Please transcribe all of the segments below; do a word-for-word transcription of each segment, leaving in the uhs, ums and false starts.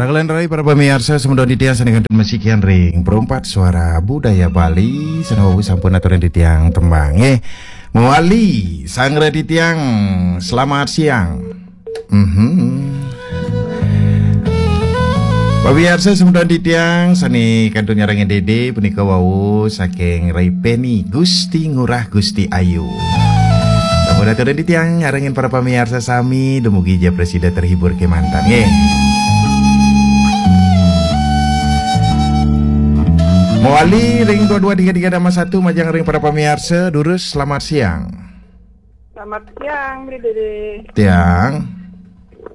Raglan rai para pamiarsa, semeton titiang sané kantun masikian ring Perempat Suara Budaya Bali, sané wau sampun aturin titiang tembang. Eh, mawali, sanggra titiang, selamat siang. Mhm. Pamiarsa semeton titiang sané kantun nyarengin Dédé punika wau saking Rai Peni, Gusti Ngurah Gusti Ayu. Sampun aturin titiang nyarengin para pamiarsa sami, dumugi ja prasida terhibur kémanten nggih. Mawali ring dua dua tiga tiga dama satu, majeng ring para pamiarsa, durus selamat siang. Selamat siang, Bli Dédé. Tiang.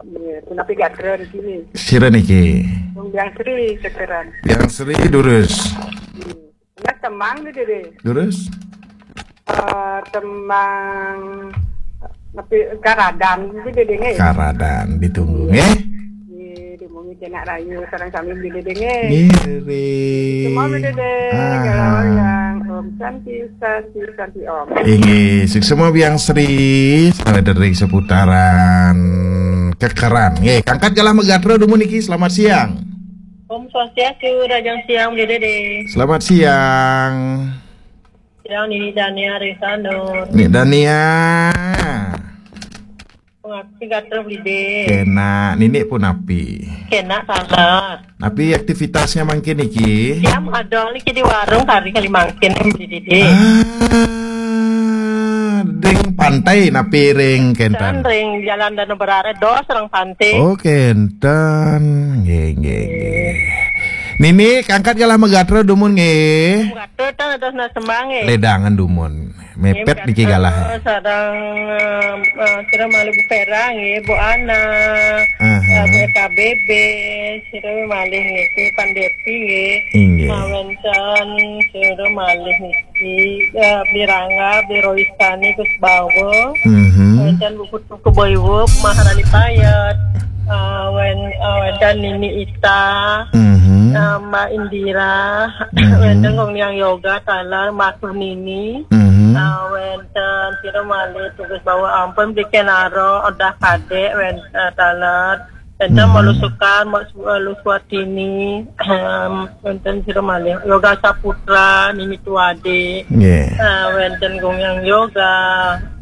Iya, punapi gatra niki? Sira niki? Wong Biang Sri, Kekeran. Biang Sri, durus. Enggak, tembang, Bli Dédé. Durus. Eh, tembang, tapi Karadan, Bli Dédé nggih. Karadan, ditunggu nggih. Nggih, ditunggu Jenak Rayu sareng sami, Bli Dédé nggih. Ngiring. Semua, Bli Dédé. Aha. Kalau yang Om Santi, Santi, Santi Om. Inggih, suksma Biang Sri, selamat dari seputaran Kekeran. Nggih, kangkat galah magatra dumun niki, selamat siang. Om Swastiastu, rahajeng siang, Bli Dédé. Selamat siang. Siang, Nini Dania ring Sanur. Nik Dania. Punapi gatra, Bli Dédé? Kénak, Nini punapi? Kénak, taler. Napi aktivitasnya mangkin niki? Tiang ada niki di warung kari kali mangkin, Bli Dédé. Ah, ring pantai napi ring kénten? Ring Jalan Danau Berare, dos ring pantai. Oh, kénten. Nggih, nggih, nggih. Nini, kangkat galah magatra dumun nggih. Magatra tang atas na sembang nggih. Ledangan dumun. Mepet niki galah. Sareng, eh, eh, sira malih Bu Vera nggih, Bu Ana, aha, eh, Bu K B B, sira malih niki, Pandepi nggih. Inggih. Ah, wénten sira malih niki, eh, Bli Rangga, Bli Roistani, Gus Bawa. Mhm. Wénten Bu Putu Kebaiwup, Maharani Payet. Ah, wén-, ah, wénten Nini Ita, mhm, ah, Mbak Indira, mhm, wénten Kong Liang Yoga, taler, Mbak Nini. Mhm. Ah, wénten sira malih tugas bawa ampun, Bli Kenaro, Odah Kadek, wénten, ah, taler. Wénten, mhm, Malu Sukar, Mbak Su-, Malu Suwatini, em, wénten sira malih. Yoga Saputra, Nini Tuade. Nggih. Ah, wénten Gong Yang Yoga,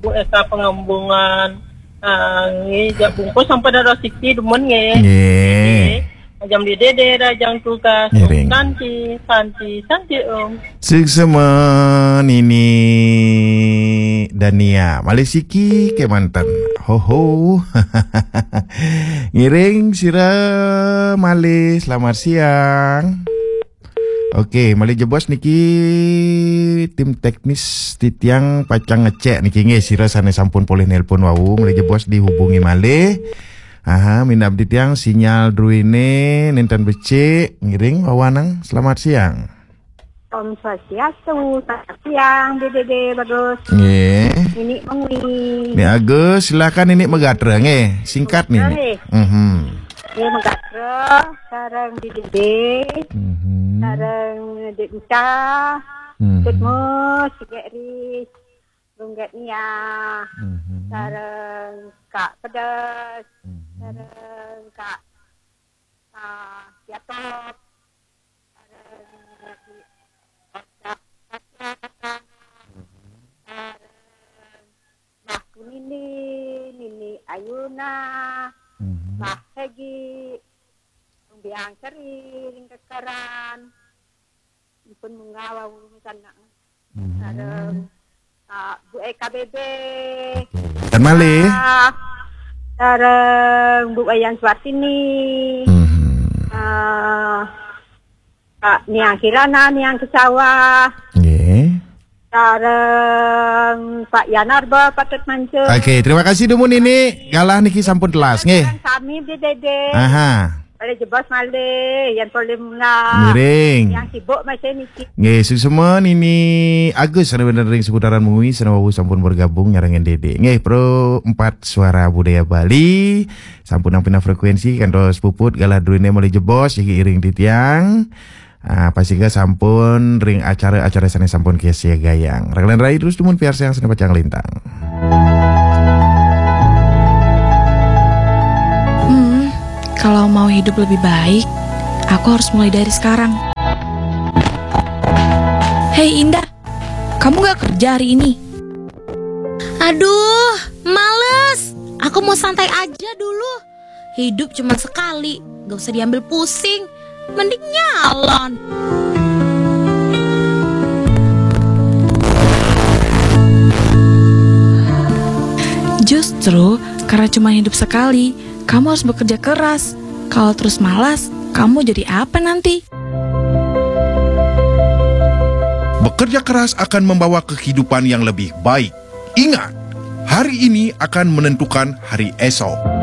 Bu Eka Pengembungan. Ah, nggih, jak bungkus sampun ada rezeki demen nggih. Nggih. Nggih. Ajam di dede, rajang tugas. Ngiring. Santi, santi, santi, Om. Suksma Nini Dania. Malih siki kémanten. Ho, ho. Ngiring sira malih, selamat siang. Oke, malih jebos niki tim teknis titiang pacang ngecek niki nggih sira sané sampun polih nelpon wau, malih jebos dihubungi malih. Aha, minab titiang sinyal druéné nénten becik, ngiring wawanang. Selamat siang. Om Swastiastu, selamat siang, Dédé Bagus. Nggih. Nini Mengwi. Ni Agus, silakan Nini magatra nggih, singkat Nini. Nggih. Mhm. Nggih, magatra sareng Dédé. Mhm. Sareng Dék Uca. Mhm. Dék Mus, Dék Ris, Runggat Nia. Mhm. Sareng Kak Pedas. Mhm. Sareng Kak, ah, Yatop. Sareng Dék Uca. Mhm. Sareng Mbah Kunini, Nini Ayuna, mhm, Mbah Hegi, Biang Seri, ring Kekeran. Ipun munggah wau misalnya. Mhm. Sareng, ah, Bu Eka Bebe. Oke. Dan malih? Ah, sareng Bu Wayan Suartini. Mhm. Ah, Kak Niang Kirana, Niang Kesawa. Nggih. Sareng Pak Yanarba, Patut Mancur. Oke, terima kasih dumun Nini. Galah niki sampun telas, nggih. Sareng sami, Bli Dédé. Aha. Malih jebos malih, yan polih munggah. Ngiring. Yang sibuk masih niki. Nggih, suksma Nini Agus, sané wénten ring seputaran Mengwi, sané wau sampun bergabung nyarengin Dédé. Nggih, Pro empat Suara Budaya Bali. Sampun nampi frekuensi, kantos puput galah druéné malih jebos, niki iring titiang. Ah, pasika sampun ring acara-acara sané sampun kasiagayang. Raglan rai terus dumun piarsayang sané pacang lintang. Hmm, Kalau mau hidup lebih baik, aku harus mulai dari sekarang. Hei Indah, kamu gak kerja hari ini? Aduh, males. Aku mau santai aja dulu. Hidup cuma sekali, gak usah diambil pusing. Mending nyalon. Justru karena cuma hidup sekali, kamu harus bekerja keras. Kalau terus malas, kamu jadi apa nanti? Bekerja keras akan membawa kehidupan yang lebih baik. Ingat, hari ini akan menentukan hari esok.